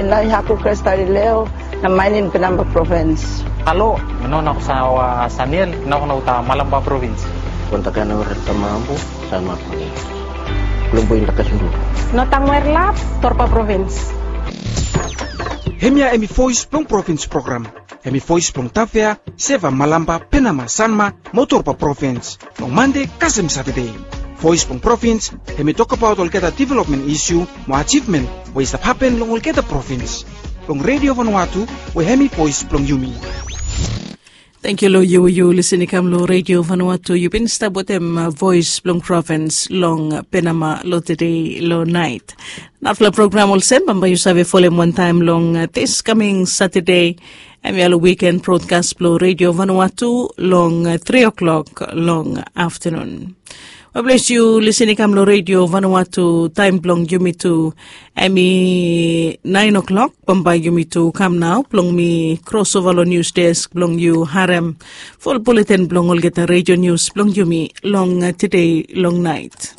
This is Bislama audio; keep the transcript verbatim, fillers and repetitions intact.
Nau i haku Krestalileo na mainin Penamba provins. Halo, mi no nako sawa Saniel, nako na uta Malamba provins. Kontakana ora tamambu sama pagi. Belum poin takas dulu. No tangwer lap, Torpa provins. Hemia hemi voice blong provins program. Hemi voice blong Tafea, Seva, Malamba, Penama, Sanma, mo Torpa provins. Long Mande kasem Satade. Voice blong provins, hemi tokbaot olgeta development isu mo achievement we i stap hapen long olgeta provins. Long Radio Vanuatu, we hemi voice blong yumi. Tangkiu long yu, yu lisin i kam long Radio Vanuatu, yu bin stap wetem uh, voice blong provins long uh, Penama long tede long nait. Narafala program olsem bambae yu save folem wantaem long uh, this coming Saturday. Hemia long weekend broadcast blong Radio Vanuatu long uh, three o'clock long afternoon. Well, bless yu lisin i kam long Radio Vanuatu, taem blong yumi tu hemi nine o'clock. Bambae yumi tu kam nao blong mi crossover long news desk blong yu harem full bulletin blong olgeta radio news blong yumi long uh, tede long nait.